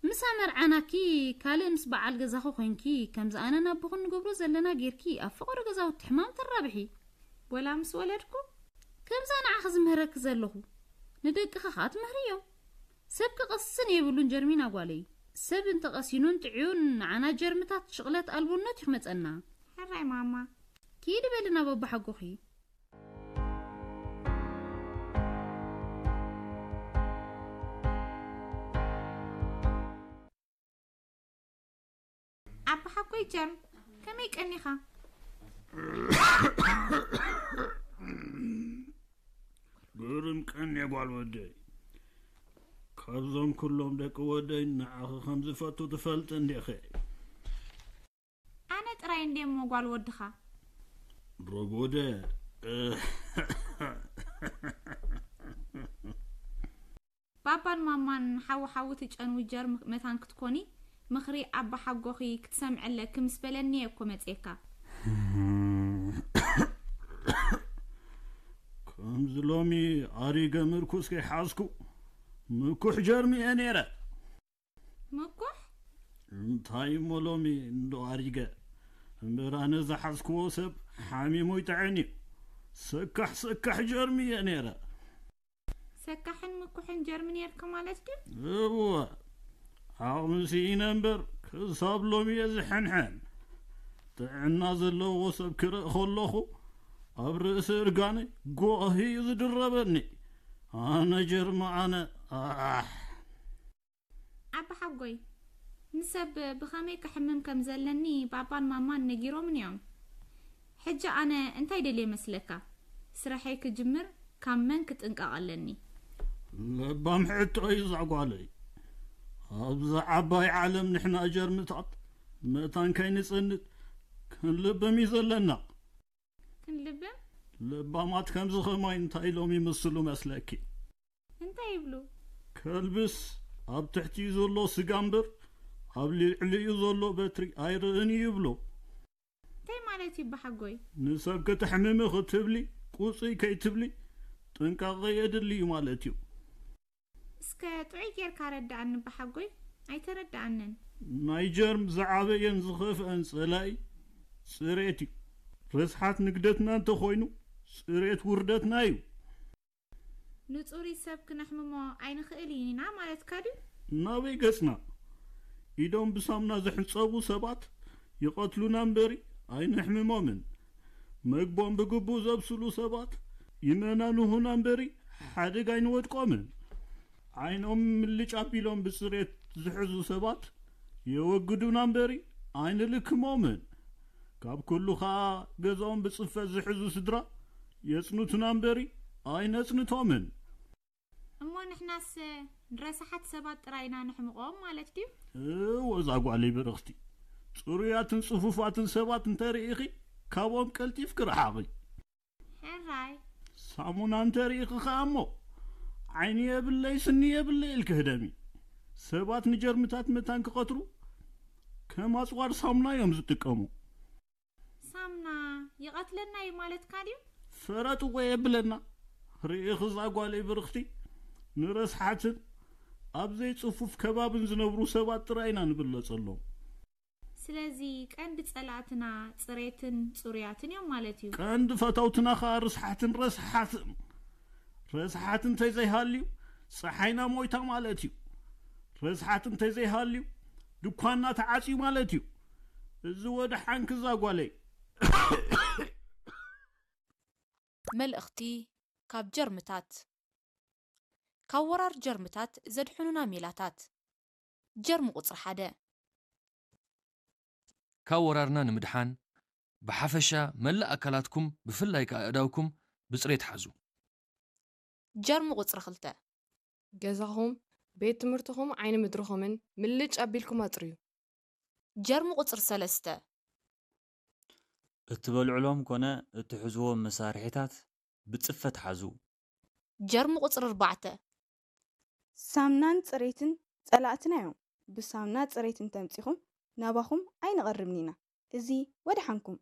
ምስ ኣመርዓናኪ ካልእ ምስ በዓል ገዛኺ ኮይንኪ ከምዚ ኣነን ኣቦኽን ንገብሮ ዘለና ጌርኪ ኣብ ፈቐዶ ገዛውቲ ሕማም ተራብሒ። ወላ ምስ ወለድኩ? ከምዛ ንዓኺ ዝምህረኪ ዘለኹ ንደቅኺ ኸኣ ትምህርዮም። ሰብ ክቐስን የብሉን ጀርሚና ጓለይ። ሰብ እንተቐሲኑን ጥዕዩን ንዓና ጀርምታት ሽቕለት ኣልቦነት እዩ ክመጸና። ሕራይ ማማ። ኪዲ በሊ ናብ ኣቦሓጎኺ። ኣቦሓጎይ ጀርም፣ ከመይ ቀኒኻ? ግርም ቀንየ ጓል ወደይ። ካብዞም ኩሎም ደቂ ወደይ ንዓኺ ከም ዝፈቱ ትፈልጢ እንዲኺ። ኣነ ጥራይ እንድየ እሞ ጓል ወድኻ። ረጎደ። ባባን ማማን ሓዊ ሓዊ ትጨንዊ ጀርም መታን ክትኮኒ ምኽሪ ኣባሓጎኺ ክትሰምዒ ኣለኪ ምስ በለኒ እየ እኮ መጽየካ። ከምዚ ሎሚ ኣሪገ ምርኩስ ከይሓዝኩ ምኩሕ ጀርሚ እየ ነይረ። ምኩሕ? እንታይ እሞ ሎሚ እንዶ ኣሪገ። እምበር ኣነ ዝሓዝክዎ ሰብ ሓሚሙ ይጥዕን እዩ። ሰካሕ ሰካሕ ጀርሚ እየ ነይረ። ሰካሕን ምኩሕን ጀርሚ ነይርካ ማለት ድዩ? እወ፣ ዓቕሚ ስኢነ እምበር ክሳብ ሎሚ እየ ዝሕንሕን። ጥዕና ዘለዎ ሰብ ክርኢ ከለኹ ኣብ ርእሲ እርጋነይ ጎሂ እዩ ዝድረበኒ። ኣነ ጀርሚ ኣነ፣ ኣሕ። ኣባሓጎይ፣ ንሰብ ብኸመይ ክሕምም ከም ዘለኒ ባባን ማማን ነጊሮምን እዮም። ሕጂ ኣነ እንታይ ደልየ መስለካ? ስራሐይ ክጅምር ካብ መን ክጥንቀቕ ኣለኒ? ለባም ሕቶ እዩ እዛ ጓለይ። ኣብዛ ዓባይ ዓለም ንሕና ጀርምታት መታን ከይንጽንት ክንልብም እዩ ዘለና። ክንልብም? ለባማት ከምዚ ኸማይ እንታይ ኢሎም ይምስሉ መስለኪ? እንታይ ይብሉ? ከልብስ ኣብ ትሕቲኡ ዘሎ ስጋ እምበር ኣብ ልዕሊኡ ዘሎ በትሪ ኣይርእን እዩ ይብሉ። እንታይ ማለት እዩ ኣባሓጎይ? ንሰብ ከተሕምሚ ክትብሊ ቁጽይ ከይትብሊ ጥንቃቐ የድሊ እዩ ማለት እዩ። እስከ ጥዑይ ጌርካ ኣረድኣኒ ኣባሓጎይ፣ ኣይተረድኣንን። ናይ ጀርም ዝዓበየን ዝኸፍአን ጸላኢ ጽሬት እዩ። ርስሓት ንግደትና እንተኾይኑ ጽሬት ውርደትና እዩ። ንጹሩይ ሰብ ክነሕምሞ ኣይንኽእልን ኢና ማለትካ ድዩ? ናበይ ገጽና? ኢዶም ብሳሙና ዝሕጸቡ ሰባት ይቐትሉና እምበሪ ኣይነሕምሞምን። መግቦም ብግቡእ ዘብስሉ ሰባት ይመናንሁና እምበሪ ሓደጋ ኣይንወድቆምን። ዓይኖም ምልጭ ኣቢሎም ብጽሬት ዝሕዙ ሰባት የወግዱና እምበሪ ኣይንልክሞምን። ካብ ኩሉ ኸኣ ገዛኦም ብጽፈት ዝሕዙ ስድራ የጽንቱና እምበሪ ኣይነጽንቶምን። እሞ ንሕናስ ንረሳሓት ሰባት ጥራይ ኢና ነሕምቖም ማለት ድዩ? እወ፣ እዛ ጓለይ ብርኽቲ፣ ጽሩያትን ጽፉፋትን ሰባት እንተ ርኢኺ፣ ካብኦም ቀልጢፍኪ ርሓቒ። ሕራይ። ሳሙና እንተ ርኢኺ ኸኣ እሞ፣ ዓይኒ የብለይ ስኒ የብለይ ኢልኪ ህደሚ። ሰባት ንጀርምታት መታን ክቐትሩ፣ ከም ኣጽዋር ሳሙና እዮም ዝጥቀሙ። ሳምና ይቐትለና እዩ ማለትካ ድዩ? ፈረጥዎ የብለና። ርኢኺ እዛ ጓለይ ብርኽቲ፣ ንረስሓትን ኣብ ዘይጽፉፍ ከባብን ዝነብሩ ሰባት ጥራይ ኢና ንብለጸሎም። ስለዚ ቀንዲ ጸላእትና ጽሬትን ጽሩያትን እዮም ማለት እዩ። ቀንዲ ፈተውትና ኸኣ ርስሓትን ረስሓትን። ረስሓት እንተዘይሃልዩ ጸሓይና ሞይታ ማለት እዩ። ረስሓት እንተዘይሃልዩ ድኳንና ተዓጽዩ ማለት እዩ። እዚ ወደሓንኪ እዛ ጓለይ። መልእኽቲ ካብ ጀርምታት። ካብ ወራር ጀርምታት ዘድሕኑና ሜላታት። ጀርሚ ቁጽሪ ሓደ። ካብ ወራርና ንምድሓን ብሓፈሻ መላእ ኣካላትኩም ብፍላይ ከኣ ኣእዳውኩም ብጽሬት ሓዙ። ጀርሚ ቁጽሪ ክልተ። ገዛኹም፣ ቤት ትምህርትኹም፣ ዓይኒ ምድርኹምን ምልጭ ኣቢልኩም ኣጽርዩ። ጀርሚ ቁጽሪ ሰለስተ። እትበልዕሎም ኮነ እትሕዝዎም መሳርሒታት ብጽፈት ሓዙ። ጀርሚ ቁጽሪ ኣርባዕተ። ሳምናን ጽሬትን ጸላእትና እዮም። ብሳምና ጽሬት እንተምጺኹም ናባኹም ኣይንቐርብን ኢና። እዚ ወድሓንኩም።